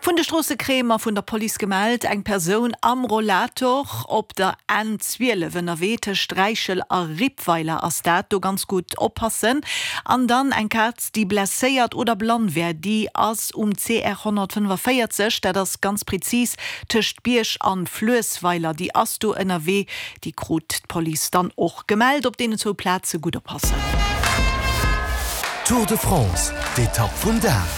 Vun de Stroosse kréie mer vun der Police gemellt, eng Persoun am Rollator op der N 12 ënnerwee tëscht Räichel a Rippweiler ass dat. Do ganz gutt oppassen. An dann eng Kaz, déi blesséiert oder blann wär, déi ass um CR 145, dat ass ganz prezis tëscht Bierg an Fluessweiler, déi ass do ënnerwee. Déi krut d'Police dann och gemellt. Op deenen zwou Plaze gutt oppassen. Tour de France, d'Etapp vum Dag.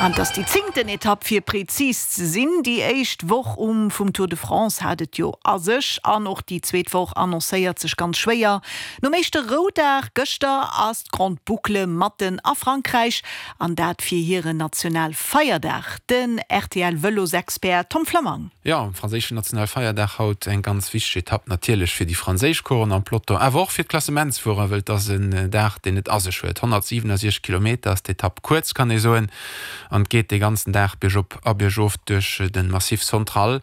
An et ass déi zéngten Etapp fir prezis ze sinn. Déi éischt Woch um vum Tour de France hat et jo a sech an och déi zweet Woch annoncéiert sech ganz schwéier. Nom éischte Roudag gëschter ass d'Grande Boucle matten a Frankräich an dat fir hiren Nationalfeierdag. Den RTL-Vëlosexpert Tom Flammang. Jo, um franséischen Nationalfeierdag haut eng ganz wichteg Etapp natierlech fir déi franséisch Coursen am Peloton, awer och fir d'Klassementsfuerer, wëll et ass en Dag, deen et a sech huet. 167 Kilometer ass d'Etapp kuerz, kann ee soen, an et geet dee ganzen Dag biergop a biergof duerch de Massif Central.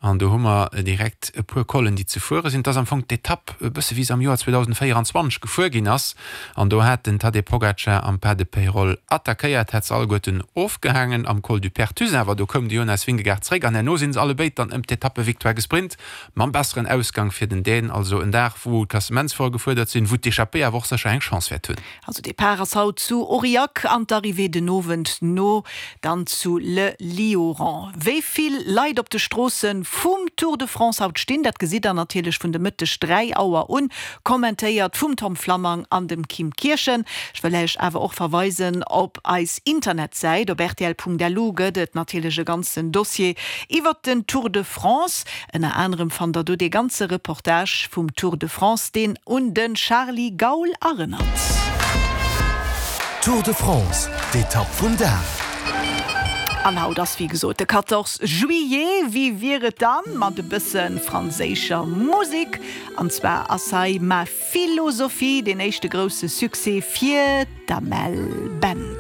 An do hu mer direkt e puer Collen, déi ze fuere sinn. Et ass am Fong d'Etapp e bësse wéi se am Joer 2024 gefuer ginn ass. An do hat den Tadej Pogacar am Pas de Peyrol attackéiert, hat se alleguerten ofgehaangen am Col du Perthus. Awer do koum de Jonas Vingegaard zeréck an herno sinn se allebéid dann ëm d'Etappevictoire gesprint, mam besseren Ausgang fir den Dän. Also en Dag, wou d'Klassementsfuerer gefuerdert sinn, wou d'Echappée awer och sécher eng Chance wäert hunn. Also Depart ass haut zu Aurillac an d'Arrivée den Owend no dann zu Le Lioran. Wéi vill Leit op de Stroosse vum Tour de France haut stinn, dat gesitt der natierlech vun de Mëtteg 3 Auer un, kommentéiert vum Tom Flammang an dem Kim Kirchen. Ech wëll Äech awer och verweisen op eis Internetsäit. Op rtl.lu gëtt et natierlech e ganzen Dossier iwwert den Tour de France. Ënner anerem fannt der do dee ganze Reportage vum Tour de France, deen un de Charly Gaul erënnert. Tour de France, d'Etapp vum Dag. An haut ass wéi gesot de 14 Juillet. Wéi wier et dann mat e bësse franséischer Musek? An zwar ass hei Ma Philosophie deen éischte grousse Succès fir d'Amel Bent.